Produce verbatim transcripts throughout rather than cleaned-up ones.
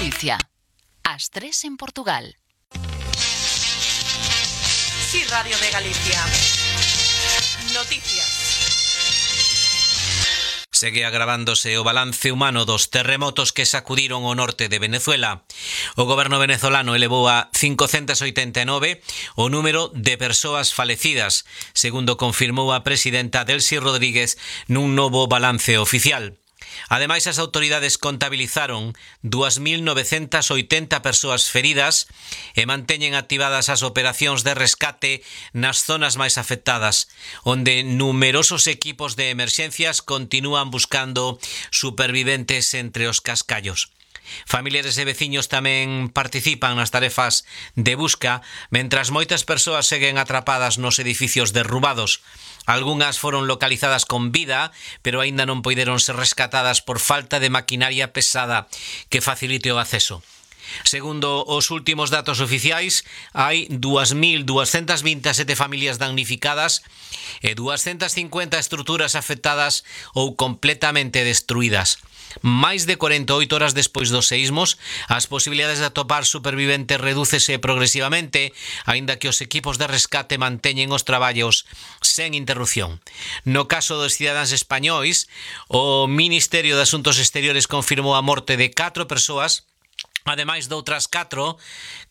Galicia. As tres en Portugal. Sí, Radio de Galicia. Noticias. Segue agravándose o balance humano dos terremotos que sacudiron o norte de Venezuela. O goberno venezolano elevou a cincocentas oitenta e nove o número de persoas falecidas, segundo confirmou a presidenta Delcy Rodríguez nun novo balance oficial. Ademais, as autoridades contabilizaron dúas mil novecentas oitenta persoas feridas e manteñen activadas as operacións de rescate nas zonas máis afectadas, onde numerosos equipos de emerxencias continúan buscando superviventes entre os cascallos. Familiares e veciños tamén participan nas tarefas de busca, mentras moitas persoas seguen atrapadas nos edificios derrubados. Algunhas foron localizadas con vida, pero aínda non poideron ser rescatadas por falta de maquinaria pesada que facilite o acceso. Segundo os últimos datos oficiais, hai dúas mil duascentas vinte e sete familias damnificadas e duascentas cincuenta estruturas afectadas ou completamente destruídas. Máis de cuarenta e oito horas despois dos seísmos, as posibilidades de atopar superviventes redúcese progresivamente, aínda que os equipos de rescate manteñen os traballos sen interrupción. No caso dos cidadáns españois, o Ministerio de Asuntos Exteriores confirmou a morte de catro persoas, ademais de outras catro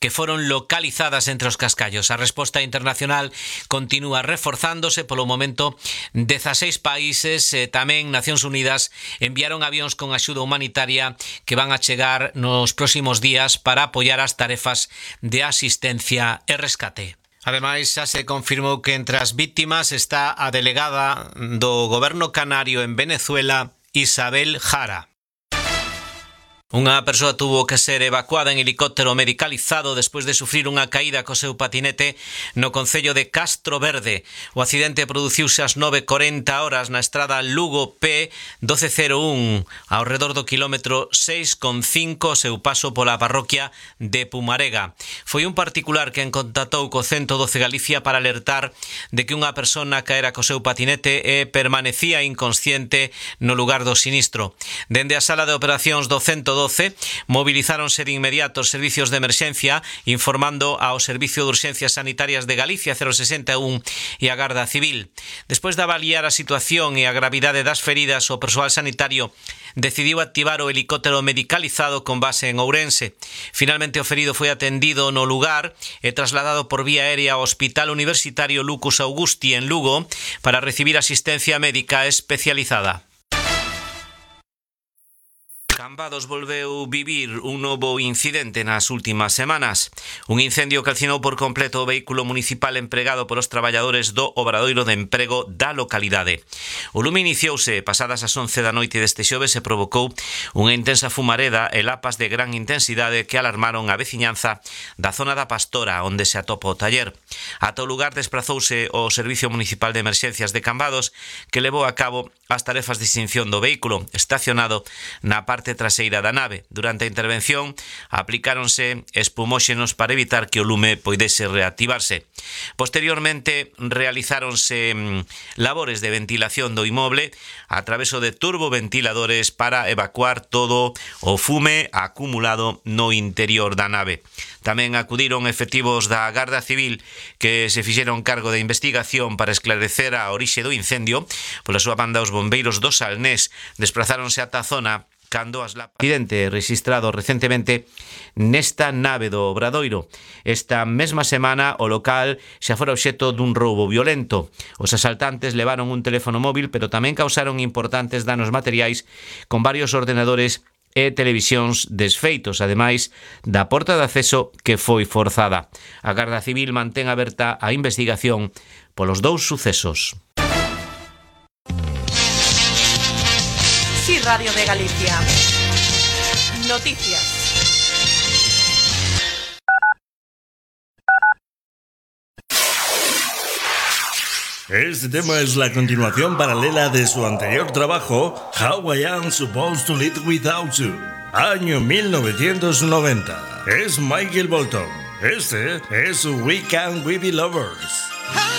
que foron localizadas entre os cascallos. A resposta internacional continúa reforzándose. Polo momento, dezaseis países, e tamén Nacións Unidas, enviaron avións con axuda humanitaria que van a chegar nos próximos días para apoiar as tarefas de asistencia e rescate. Ademais, xa se confirmou que entre as víctimas está a delegada do goberno canario en Venezuela, Isabel Jara. Unha persoa tuvo que ser evacuada en helicóptero medicalizado despois de sufrir unha caída co seu patinete no concello de Castro Verde. O accidente produciuse ás nove e corenta horas na estrada Lugo P doce cero un, ao redor do quilómetro seis con cinco, seu paso pola parroquia de Pumarega. Foi un particular quen contactou co ciento doce Galicia para alertar de que unha persona caera co seu patinete e permanecía inconsciente no lugar do sinistro. Dende a sala de operacións do ciento doce, movilizáronse de inmediato os servicios de emerxencia, informando ao Servicio de Urxencias Sanitarias de Galicia cero sesenta e un e a Garda Civil. Despois de avaliar a situación e a gravidade das feridas, o persoal sanitario decidiu activar o helicóptero medicalizado con base en Ourense. Finalmente, o ferido foi atendido no lugar e trasladado por vía aérea ao Hospital Universitario Lucus Augusti en Lugo para recibir asistencia médica especializada. Cambados volveu vivir un novo incidente nas últimas semanas. Un incendio calcinou por completo o vehículo municipal empregado polos traballadores do Obradoiro de Emprego da localidade. O lume iniciouse pasadas as once da noite deste xoves e provocou unha intensa fumareda e lapas de gran intensidade que alarmaron a veciñanza da zona da Pastora, onde se atopa o taller. Ata o lugar desprazouse o Servicio Municipal de Emerxencias de Cambados, que levou a cabo as tarefas de extinción do vehículo estacionado na parte traseira da nave. Durante a intervención aplicáronse espumóxenos para evitar que o lume poidese reactivarse. Posteriormente realizáronse labores de ventilación do inmoble a traveso de turboventiladores para evacuar todo o fume acumulado no interior da nave. Tamén acudiron efectivos da Garda Civil que se fixeron cargo de investigación para esclarecer a orixe do incendio. Pola súa banda, os bombeiros do Salnés desprazáronse ata a zona cando as lapas. Accidente registrado recentemente nesta nave do Obradoiro. Esta mesma semana o local xa fora obxecto dun roubo violento. Os asaltantes levaron un teléfono móvil, pero tamén causaron importantes danos materiais con varios ordenadores e televisións desfeitos, ademais da porta de acceso que foi forzada. A Garda Civil mantén aberta a investigación polos dous sucesos. Sí, Radio de Galicia. Noticias. Este tema es la continuación paralela de su anterior trabajo, How I Am Supposed to Live Without You, año mil novecientos noventa. Es Michael Bolton. Este es We Can We Be Lovers.